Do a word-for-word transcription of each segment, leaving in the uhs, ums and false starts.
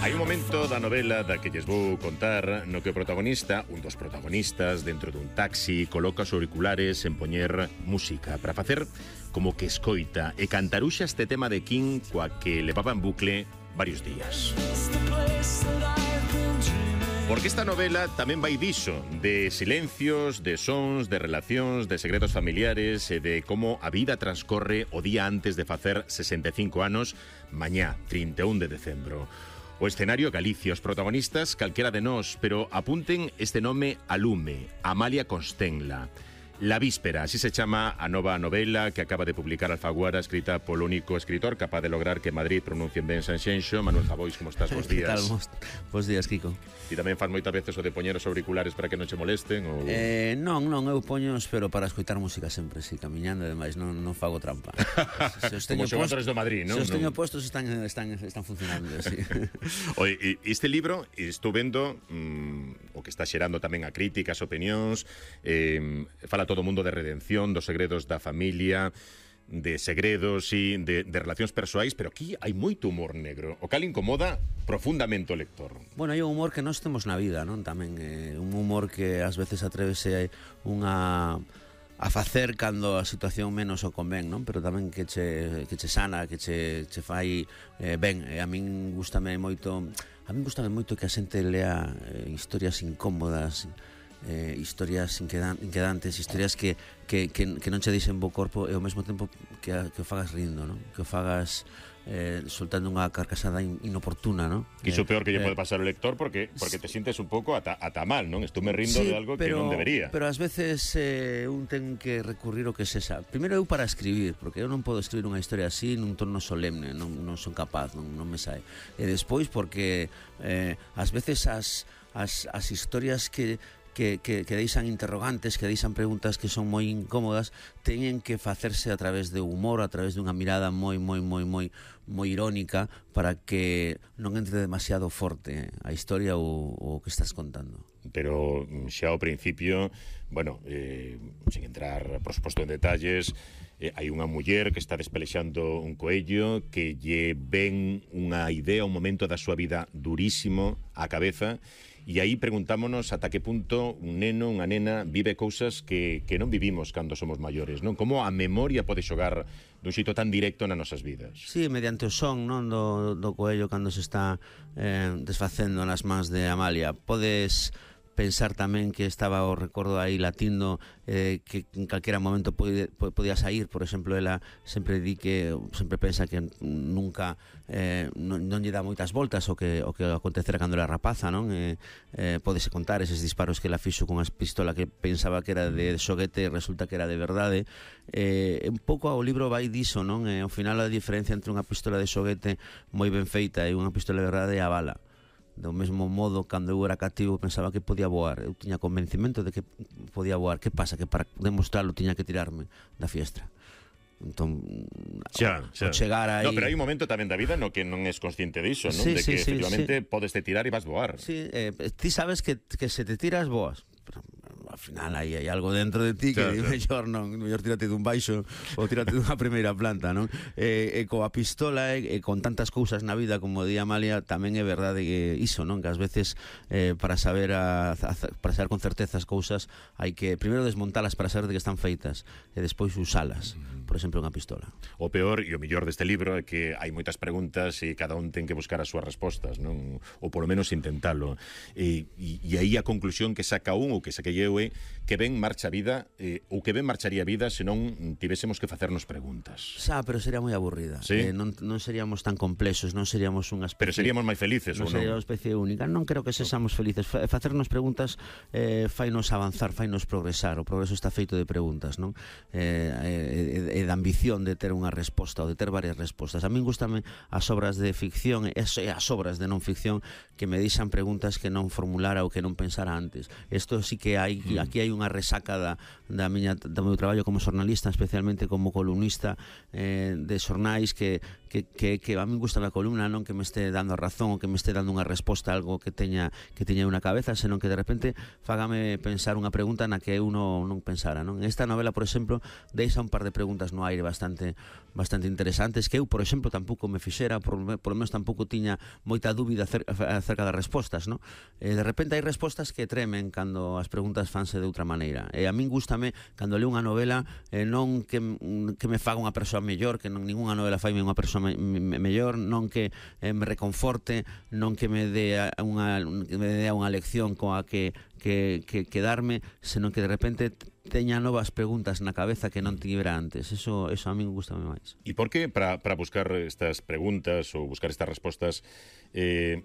Hai un momento da novela da que lles vou contar no que o protagonista, un dos protagonistas, dentro dun taxi, coloca os auriculares en poñer música para facer como que escoita e cantaruxa este tema de King coa que levaba en bucle varios días. Porque esta novela tamén vai diso, de silencios, de sons, de relacións, de segredos familiares e de como a vida transcorre o día antes de facer sesenta e cinco anos, mañá, trinta e un de decembro. O escenario Galicia, os protagonistas calquera de nós, pero apunten este nome a lume, Amalia Constenla. La Víspera, así se chama a nova novela que acaba de publicar Alfaguara, escrita polo único escritor capaz de lograr que Madrid pronuncien ben Sanxenxo. Manuel Javois, como estás? Bos días. Que tal? Bos días, Kiko. E tamén faz moitas veces o de poñer os auriculares para que non che molesten? Ou... Eh, non, non, eu poños, pero para escoitar música sempre, si, camiñando, e demais, non, non fago trampa. Se os Como xogadores do Madrid, non? Se os teño no... postos están, están, están funcionando, sí. Oye, este libro, estou vendo mmm, o que está xerando tamén a críticas, opinións, eh, fala todo o mundo de redención, dos segredos da familia, de segredos e de, de relacións persoais, pero aquí hai moito humor negro, o cal incomoda profundamente o lector. Bueno, hai un humor que nós temos na vida, non? Tamén eh, un humor que ás veces atrevese unha a facer cando a situación menos o convén, non? Pero tamén que che, que che sana, que che, che fai eh, ben. E a min gustame moito, a min gustame moito que a xente lea eh, historias incómodas, Eh, historias inquedan, inquedantes, historias que, que, que, que non che deixen bo corpo e ao mesmo tempo que, a, que o fagas rindo, non? Que o fagas eh, soltando unha carcasada in, inoportuna, non? Que iso eh, peor que lle eh, pode pasar ao lector porque porque te sientes un pouco ata, ata mal, non? Estou me rindo sí, de algo pero, que non debería. Pero ás veces eh, un ten que recurrir o que sexa. Primeiro eu para escribir, porque eu non podo escribir unha historia así nun tono solemne, non, non son capaz, non, non me sae. E despois porque eh, ás veces as, as, as historias que Que, que, que deixan interrogantes, que deixan preguntas que son moi incómodas, teñen que facerse a través de humor, a través dunha mirada moi, moi, moi, moi, moi irónica para que non entre demasiado forte a historia ou o que estás contando. Pero xa ao principio, bueno, eh, sin entrar, por suposto, en detalles, eh, hai unha muller que está despelexando un coello que lle ven unha idea, un momento da súa vida durísimo á cabeza. E aí preguntámonos ata que punto un neno, unha nena, vive cousas que, que non vivimos cando somos maiores, non? Como a memoria pode xogar dun xeito tan directo nas nosas vidas. Sí, mediante o son, non, do, do coello cando se está eh, desfacendo nas mans de Amalia. Podes pensar tamén que estaba o recordo aí latindo, eh, que en calquera momento pode, podía sair. Por exemplo, ela sempre di que sempre pensa que nunca eh, non, non lle dá moitas voltas o que, o que acontecera cando era rapaza, non? Eh, eh, podese contar eses disparos que ela fixo con a pistola que pensaba que era de xoguete e resulta que era de verdade. Eh, un pouco o libro vai diso, non? Eh, ao final a diferencia entre unha pistola de xoguete moi ben feita e unha pistola de verdade é a bala. Do mesmo modo, cando eu era cativo pensaba que podía voar, eu tiña convencimento de que podía voar. Que pasa? Que para demostrarlo tiña que tirarme da fiestra. Entón, xa, xa. chegar aí... No, pero hai un momento tamén da vida no que non és consciente diso, non? Sí, de sí, que sí, efectivamente sí. podes te tirar e vas voar. Sí, eh, ti sabes que, que se te tiras, boas. Pero ao final aí hai algo dentro de ti que claro, mellor non, mellor tírate dun baixo ou tírate dunha primeira planta, non? E, e coa pistola e, e con tantas cousas na vida como di Amalia, tamén é verdade que iso, non? Que ás veces eh, para saber a, a, para saber con certeza as cousas hai que primeiro desmontalas para saber de que están feitas e despois usalas. Por exemplo, unha pistola. O peor e o mellor deste libro é que hai moitas preguntas e cada un ten que buscar as súas respostas, non? Ou polo menos intentalo. E, e, e aí a conclusión que saca un ou que saquei eu é que ben marcha a vida eh, ou que ben marcharía a vida se non tivésemos que facernos preguntas. Xa, pero sería moi aburrida. ¿Sí? Eh, non, non seríamos tan complexos, non seríamos unha especie... Pero seríamos máis felices, non ou non? sería unha especie única. Non creo que sexamos felices. Facernos preguntas eh, fainos avanzar, fainos progresar. O progreso está feito de preguntas, non? Eh, e, e da ambición de ter unha resposta ou de ter varias respostas. A min gustame as obras de ficción e as obras de non ficción que me deixan preguntas que non formulara ou que non pensara antes. Isto sí que hai, mm. aquí hai unha resaca da, da miña, do meu traballo como xornalista, especialmente como columnista eh, de xornais que, que, que, que a mí gusta a columna, non que me este dando a razón ou que me este dando unha resposta a algo que teña que teña unha cabeza, senón que de repente fágame pensar unha pregunta na que eu non, non pensara, non? Esta novela, por exemplo, deixa un par de preguntas no aire bastante bastante interesantes que eu, por exemplo, tampouco me fixera, por, por lo menos tampouco tiña moita dúbida acerca, acerca das respostas, non? E de repente hai respostas que tremen cando as preguntas fanse de outra maneira. E a min gústame cando leo unha novela eh, non que, que me faga unha persoa mellor, que non ninguna novela faime unha persoa me, me, mellor, non que eh, me reconforte, non que me dé unha, que me dé unha lección coa que, que, que quedarme, senón que de repente teña novas preguntas na cabeza que non tivera antes. Eso, eso a min gustame máis. E por que para, para buscar estas preguntas ou buscar estas respostas eh,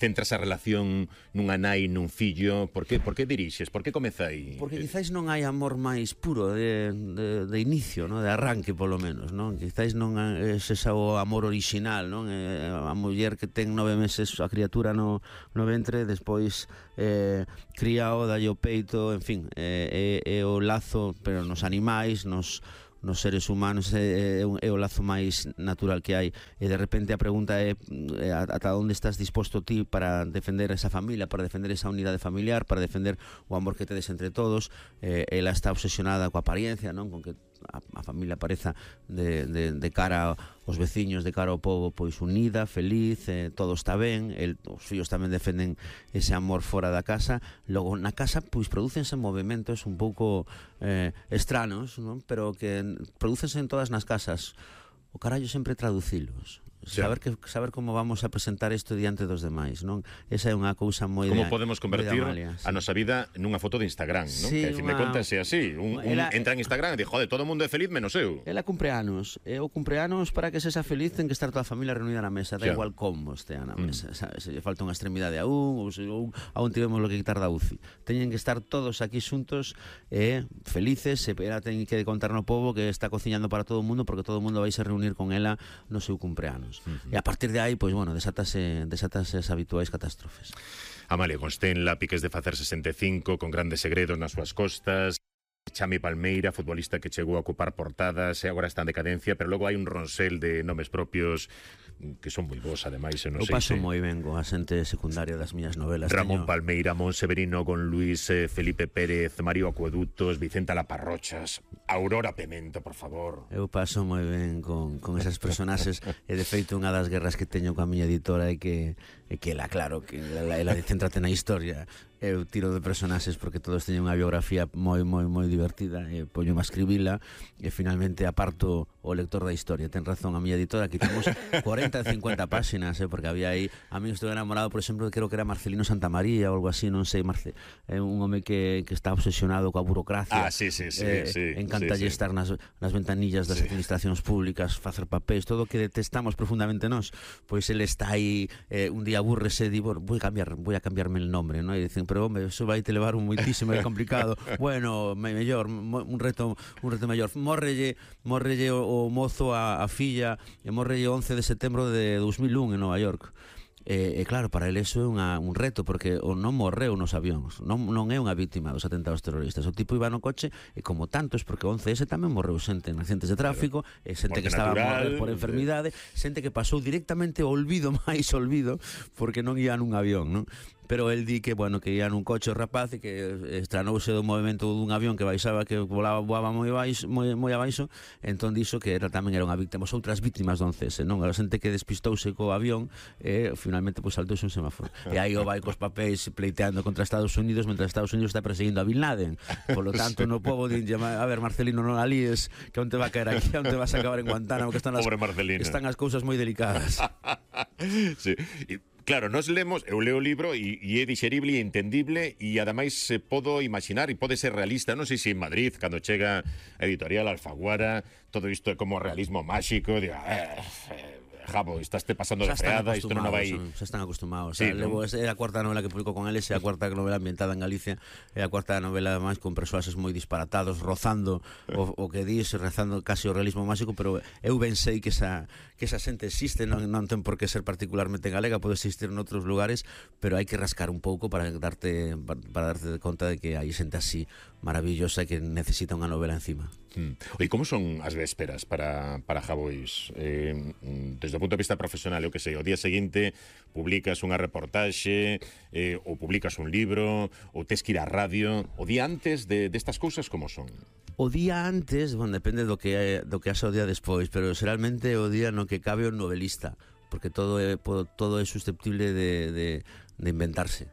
centras a relación nunha nai nun fillo? Por que, por que dirixes? Por que comezai? Porque quizáis non hai amor máis puro de, de, de inicio, ¿no? De arranque polo menos, non? Quizáis non é ese o amor orixinal, non? A muller que ten nove meses a criatura no, no ventre, despois eh, cría o, dalle o peito, en fin, é, é, é o lazo, pero nos animais, nos nos seres humanos é, é, é o lazo máis natural que hai, e de repente a pregunta é, é ata onde estás disposto ti para defender esa familia, para defender esa unidade familiar, para defender o amor que tedes entre todos. Eh, ela está obsesionada coa apariencia, non? Con que a, a familia pareza de, de, de cara aos veciños, de cara ao povo, pois unida, feliz, eh, todo está ben. El, os fillos tamén defenden ese amor fora da casa. Logo na casa pois prodúcense movimentos un pouco eh, estranos, non? Pero que prodúcense en todas nas casas. O carallo sempre traducilos. Saber que saber como vamos a presentar isto diante dos demais, non? Esa é unha cousa moi de como podemos convertir Amalia, sí. a nosa vida nunha foto de Instagram, non? Sí, que a fin de contas é así, un, un ela, entra en Instagram e di, joder, todo o mundo é feliz menos eu. Ela cumpre anos, e o cumpre anos para que sexa feliz ten que estar toda a familia reunida na mesa, da xa. igual como estea na mesa, mm. sabes? Se lle falta unha extremidade a un, ou se un, a un tivemos lo que quitar da U C I. Teñen que estar todos aquí xuntos e felices, e ela ten que contar no pobo que está cociñando para todo o mundo, porque todo o mundo vai se reunir con ela no seu cumpleanos. Mm-hmm. E a partir de aí, pois, bueno, desátase, desátase as habituais catástrofes. Amalia Constenla, piques de facer sesenta e cinco, con grandes segredos nas súas costas. Chami Palmeira, futbolista que chegou a ocupar portadas e agora está en decadencia, pero logo hai un ronsel de nomes propios que son moi bons, ademais. Non Eu sei paso se... moi ben co asente secundario das miñas novelas. Ramón teño... Palmeira, Monseverino con Luis, eh, Felipe Pérez, Mario Acueductos, Vicenta Laparrochas, Aurora Pemento, por favor. Eu paso moi ben con, con esas personaxes e de feito unha das guerras que teño coa miña editora é que, é que ela, claro, que ela, ela céntrate na historia. Eu tiro de personaxes porque todos teñen unha biografía moi, moi, moi divertida, e poño a escribila e finalmente aparto o lector da historia. Ten razón a miña editora, aquí temos cuarenta, cincuenta páxinas, eh, porque había aí, a mí estou enamorado, por exemplo, creo que era Marcelino Santamaría ou algo así, non sei, Marce, é un home que, que está obsesionado coa burocracia. Ah, sí, sí, sí, eh, sí, encantalle sí, sí. estar nas, nas ventanillas das sí. administracións públicas, facer papéis, todo o que detestamos profundamente nós, pois ele está aí, eh, un día aburrese e di, bueno, voy a cambiar, voy a cambiarme el nombre, ¿no? E dicen, pero home, eso vai te levar un moitísimo e complicado. Bueno, me, mellor, un reto, un reto mellor. Morrelle, morrelle o, o mozo a, a filla, e morrelle o once de setembro de dos mil un en Nova York. E, e claro, para ele eso é unha, un reto, porque o non morreu nos avións, non, non é unha vítima dos atentados terroristas. O tipo iba no coche e como tantos, porque o once ese tamén morreu xente en accidentes de tráfico, e xente Morte que estaba natural, a morrer por enfermidade, xente que pasou directamente ao olvido máis olvido porque non ia nun avión, non? Pero el di que, bueno, que ia nun coche o rapaz e que estranouse do movimento dun avión que baixaba, que volaba, voaba moi baixo, moi, moi abaixo, entón dixo que era tamén era unha víctima, as outras víctimas do once ese, non? A xente que despistouse co avión e finalmente pois saltouse un semáforo. E aí o vai cos papéis pleiteando contra Estados Unidos, mentre Estados Unidos está perseguindo a Bin Laden. Por lo tanto, no pobo dinlle, a ver, Marcelino, non alíes, que onde va a caer aquí, onde vas a acabar en Guantánamo, que están as, Pobre Marcelino. están as cousas moi delicadas. Sí. E claro, nos lemos, eu leo o libro e, e é dixerible e entendible e ademais se podo imaginar e pode ser realista. Non sei se en Madrid, cando chega a editorial Alfaguara, todo isto é como realismo máxico, diga, eh, eh, Jabo, estás te pasando de freada, isto non vai... Xa están acostumados. Sí, o sea, levo, é a cuarta novela que publico con eles, é a cuarta novela ambientada en Galicia, é a cuarta novela ademais con persoaxes moi disparatados, rozando o, o que dis, rezando casi o realismo máxico, pero eu ben sei que esa, que esa xente existe, non, non ten por que ser particularmente galega, pode existir en outros lugares, pero hai que rascar un pouco para darte, para darte conta de que hai xente así maravillosa que necesita unha novela encima. Mm. E como son as vésperas para, para Javois? Eh, desde o punto de vista profesional, eu que sei, o día seguinte publicas unha reportaxe, eh, ou publicas un libro, ou tes que ir á radio. O día antes de destas cousas, como son? O día antes, bueno, depende do que do que haxa o día despois, pero xeralmente o día no que cabe o novelista, porque todo é todo é susceptible de, de, de inventarse.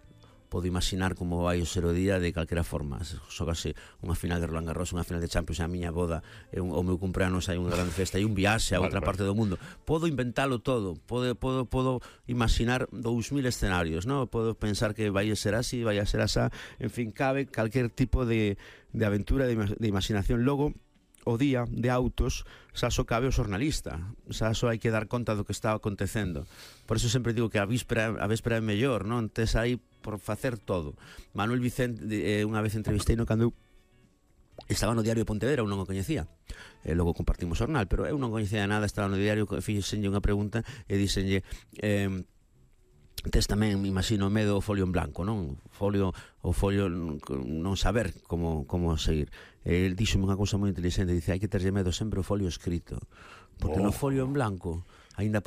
Podo imaginar como vai ser o día de calquera forma. Xógase unha final de Roland Garros, unha final de Champions, a miña boda, un, o meu cumpleanos, hai unha grande festa, hai un viaxe a outra vale, parte vale. do mundo. Podo inventalo todo, podo, podo, podo imaginar dous mil escenarios, ¿no? Podo pensar que vai a ser así, vai a ser asá, en fin, cabe calquer tipo de, de aventura, de, de imaginación. Logo, o día de autos xa só cabe o xornalista, xa só hai que dar conta do que está acontecendo. Por eso sempre digo que a víspera, a víspera é mellor, non? Tes aí por facer todo. Manuel Vicente, eh, unha vez entrevistei no cando eu estaba no diario de Pontevedra, eu non o coñecía, e logo compartimos o jornal, pero eu non coñecía nada, estaba no diario, fixenlle unha pregunta e díxenlle eh, tes tamén, me imagino, medo o folio en blanco, non? Folio, o folio non saber como, como seguir. El díxome unha cousa moi inteligente, dice, hai que terlle medo sempre o folio escrito, porque oh. no folio en blanco aínda